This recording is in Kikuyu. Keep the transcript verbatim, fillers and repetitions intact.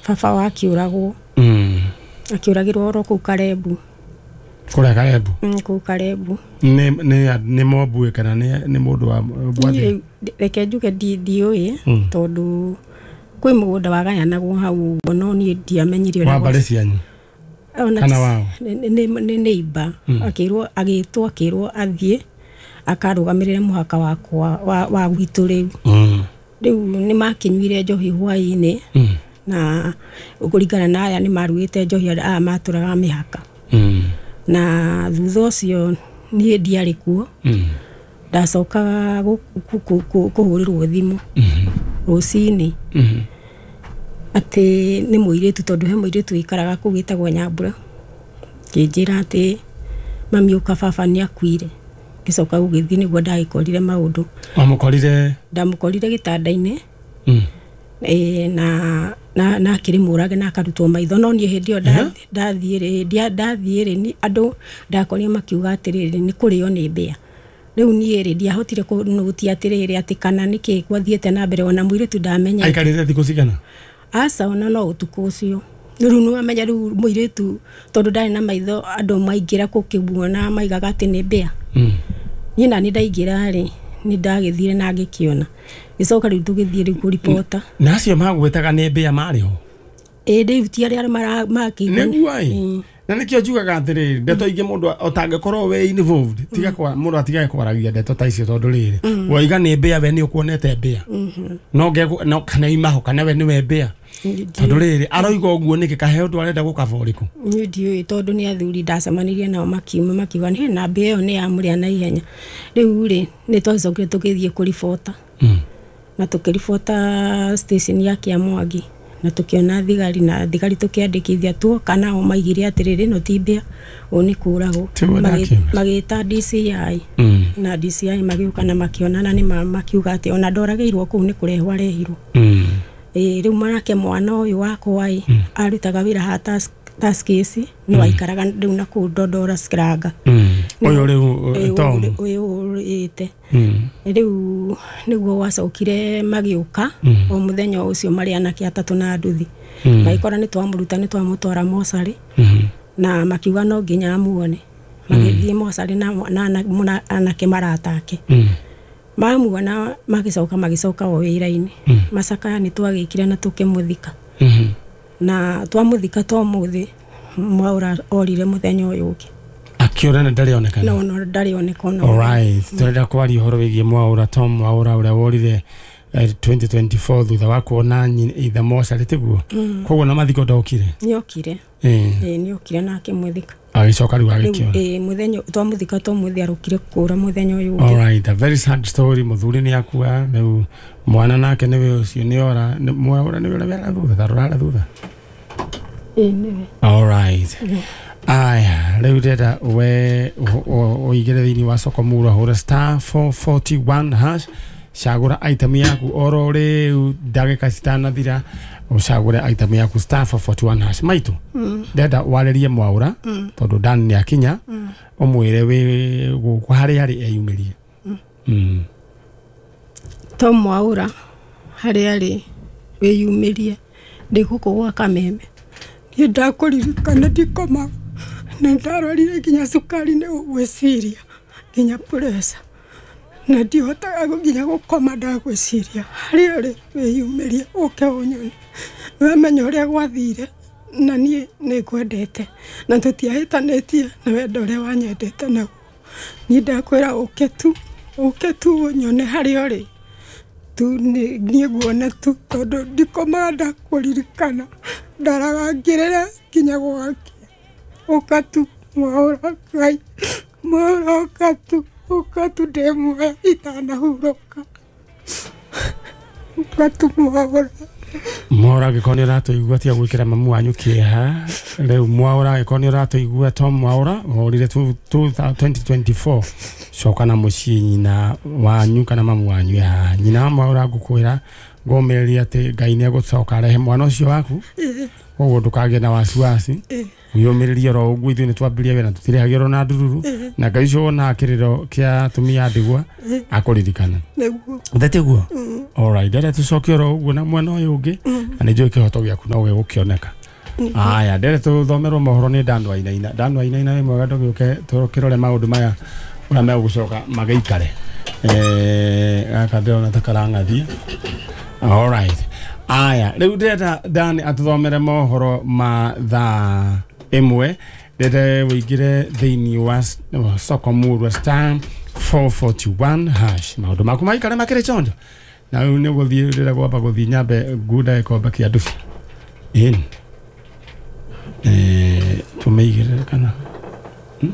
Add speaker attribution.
Speaker 1: Baba wa akiũragwo.
Speaker 2: Mm.
Speaker 1: Akiũragĩrwo oro kũu Karebu.
Speaker 2: Kũrĩa Karebu?
Speaker 1: Mm, kũu Karebu.
Speaker 2: Nĩ nĩ nĩ mombue kana nĩ nĩ mũndũ wa bwathi?
Speaker 1: Reke njuge ndiũĩ tondũ kwĩ mũgũnda wagayanagwo hau ũguo, no niĩ ndiamenyire
Speaker 2: ũrĩa. Wa mbarĩ cianyu? Kana wao?
Speaker 1: Nĩ neighbor. Akĩrwo, agĩtwo, akĩrwo athiĩ akarũgamĩrĩre mũhaka wakwa wa, wa gwitũ rĩu.
Speaker 2: Mm.
Speaker 1: Rĩu nĩ makinyuire njohi hwaĩ-inĩ.
Speaker 2: Mm.
Speaker 1: Na kũringana na aya nĩ marugĩte njohi aya matũraga mĩhaka.
Speaker 2: Mm.
Speaker 1: Na thutha ũcio niĩ ndiarĩ kuo.
Speaker 2: Mm.
Speaker 1: Ndacokaga kũhũrĩrwo thimũ.
Speaker 2: Mm.
Speaker 1: Rũcinĩ.
Speaker 2: Mm.
Speaker 1: Atĩ nĩ mũirĩtu, tondũ he mũirĩtu wĩikaraga kũu wĩtagwo Nyambura. Kĩnjĩra atĩ mami ũka, baba nĩ akuire. Ngĩcoka gũgĩthiĩ nĩguo ndagĩkorire maũndũ.
Speaker 2: Wamũkorire?
Speaker 1: Ndamũkorire gĩtanda-inĩ.
Speaker 2: Mm.
Speaker 1: E, na na na akĩrĩ mũrage na akarutwo maitho, no niĩ hĩndĩ ĩyo ndathiĩ rĩ, ndathiĩ rĩ, andũ ndakorire makiuga atĩrĩrĩ nĩ kũrĩo nĩ mbĩa. Rĩu niĩ rĩ ndiahotire kũnũtia atĩrĩrĩ atĩ kana nĩkĩ gwathiĩte na mbere, ona mũirĩtu ndamenya.
Speaker 2: Aikarĩte thikũ cigana?
Speaker 1: Aca, ona no ũtukũ ũcio. Rĩu nĩ wamenya rĩu mũirĩtu tondũ ndarĩ na maitho, andũ maingĩra gũkĩmuona maigaga atĩ nĩ mbĩa.
Speaker 2: Mm.
Speaker 1: Niĩ nani ndaingĩra rĩ, nĩ ndagĩthire na ngĩkĩona. Gĩcoka rĩu tũgĩthiĩ rĩu kũribota.
Speaker 2: Na acio magwĩtaga nĩ mbĩa marĩ ho?
Speaker 1: Ĩĩ, rĩu ti arĩa makĩigua.
Speaker 2: Nĩguo ĩ. Na nĩkĩo njugaga atĩrĩrĩ, ndeto ingĩ mũndũ ũtangĩkorwo wĩ involved, tiga kwa mũndũ atigage kwaragia ndeto ta icio, tondũ rĩrĩ woiga nĩ mbĩa, we nĩ ũkuonete mbĩa. No no kana imaho kana we nĩwe mbĩa. Tondũ rĩrĩ aroiga ũguo nĩkĩ, kahe ũndũ arenda gũkaba ũrĩkũ?
Speaker 1: Niĩ ndiũĩ, tondũ nĩ athuri ndacemanirie nao makiuma makiuga nĩ na mbĩa ĩyo nĩ yamũrĩa na ihenya. Rĩu rĩ nĩ twacokire tũgĩthiĩ kũribota. Na tũkĩribota station ya Kĩamwangi, na tũkĩona thigari, na thigari tũkĩandĩkithia tuoka nao maigire atĩrĩrĩ ĩno ti mbĩa, ũũ nĩ kũragwo. Magĩta D C I. Na D C I magĩũka na makĩona na nĩ makiuga atĩ ona ndoragĩirwo kũu nĩ kũrehwo arehirwo. Ĩĩ, rĩu manake mwana ũyũ wakwa ĩ arutaga wĩra ha task case, no aikaraga rĩu na kũu Ndondora Skiranga.
Speaker 2: Ũyũ rĩu Tom
Speaker 1: ũyũ ũrĩte. Rĩu nĩguo gwacokire magĩũka o mũthenya ũcio marĩ anake atatũ na nduthi. Magĩkora nĩ twamũruta, nĩ twamũtwara mocarĩ, na makiuga no nginya amuone. Magĩthiĩ mocarĩ na anake maratake. Mamuona magĩcoka magĩcoka o wĩra-inĩ. Macakaya nĩ twagĩkire na tũkĩmũthika. Na twamũthika to mũthĩ, Mwaura orire mũthenya ũyũ ũngĩ.
Speaker 2: Akĩũra na ndarĩ onekana?
Speaker 1: No, no, ndarĩ onekana.
Speaker 2: Alright, tũrenda kwaria ũhoro wĩgiĩ Mwaura, Tom Mwaura ũrĩa worire twenty twenty-four thutha wa kuona ithe mocarĩ, tiguo? Koguo na mathiko ndokire?
Speaker 1: Nĩokire. Ĩĩ, nĩokire na akĩmũthika.
Speaker 2: Agĩcoka rĩu agĩkĩũra.
Speaker 1: Ĩĩ, mũthenya twamũthika to mũthĩ arũkire kũra mũthenya ũyũ ũngĩ.
Speaker 2: Alright, a very sad story. Mũthuri nĩ akua, rĩu mwana nake nĩwe ũcio nĩ ora, Mwaura nĩwe ũrĩa wera thutha, tarora thutha.
Speaker 1: Ĩĩ, nĩwe.
Speaker 2: Alright. Aya, rĩu ndĩrenda we ũigĩre thĩinĩ wa soko mura, hũra star four forty-one hash, cagũra item yaku oro rĩu ndagĩka citanathira, ũcagũre item yaku star four forty-one hash. Maitũ, ndĩrenda warĩrie Mwaura tondũ Dan nĩ akinya, ũmwĩre wĩ gũkũ harĩa arĩ eyumĩrie.
Speaker 1: Tom Mwaura harĩa arĩ wĩyumĩrie, ndĩ gũkũ gwa Kameme. Niĩ ndakũririkana ndikomaga, na ndarwarire nginya cukari nĩ gwĩciria, nginya pressure, na ndihotaga nginya gũkoma ndagwĩciria. Harĩa ũrĩ wĩyumĩrie ũke ũnyone, nĩwamenya ũrĩa gwathire, na niĩ nĩngwendete, na tũtiahĩtanĩtie na wendo ũrĩa wanyendete naguo. Niĩ ndakwĩra ũke tu, ũke tu ũnyone harĩa ũrĩ tu, niĩ nguone tu, tondũ ndikomaga ndakũririkana, ndaraga ngĩrĩra nginya gwakĩa. Ũka tu Mwaura, Ngai, Mwaura ũka tu, ũka tu ndĩ muoyo itanahurũka. Ũka tu Mwaura.
Speaker 2: Mwaura angĩkorwo nĩ ũratũigua tiga gwĩkĩra mamu wanyu kĩeha. Rĩu Mwaura angĩkorwo nĩ ũratũigua, Tom Mwaura worire twenty twenty-four, coka na mũciĩ nyina wanyu kana mamu wanyu haha. Nyina wa Mwaura ngũkwĩra ngũmĩrĩria atĩ Ngai nĩ egũcoka arehe mwana ũcio waku, koguo ndũkagĩe na wasiwasi. Wiyũmĩrĩrie oro ũguo, ithuĩ nĩ twambĩrĩria wĩra tũtirĩhagĩrwo na ndururu, na Ngai ũcio wonaga kĩrĩro kĩa atumia a ndigwa akũririkana.
Speaker 1: Nĩguo.
Speaker 2: Ndetiguo. Alright, ndere tũcoke oro ũguo na mwena ũyũ ũngĩ, na nĩ njũĩ kĩhoto gĩaku no gĩgũkĩoneka. Aya, ndere tũthomerwo mohoro nĩ Dan Wainaina. Dan Wainaina, wĩ mwega? Ndũgĩũke tũkĩrore maũndũ maya ũrĩa megũcoka magĩikare. Eh, gaka ndĩrona ta karang'athia. Alright, aya, rĩu ndĩrenda Dan atũthomere mohoro ma thaa ĩmwe. Ndĩrenda wĩingĩre thĩinĩ wa s- wa soko murwa star four forty-one hash, maũndũ maku maikare makĩrĩ chonjo. Na rĩu nĩ gũthiĩ, ndĩrenda gwamba gũthiĩ nyambe ngunda gĩkombe kĩa ndubi ĩni. Eh, tũmĩigĩrĩre kana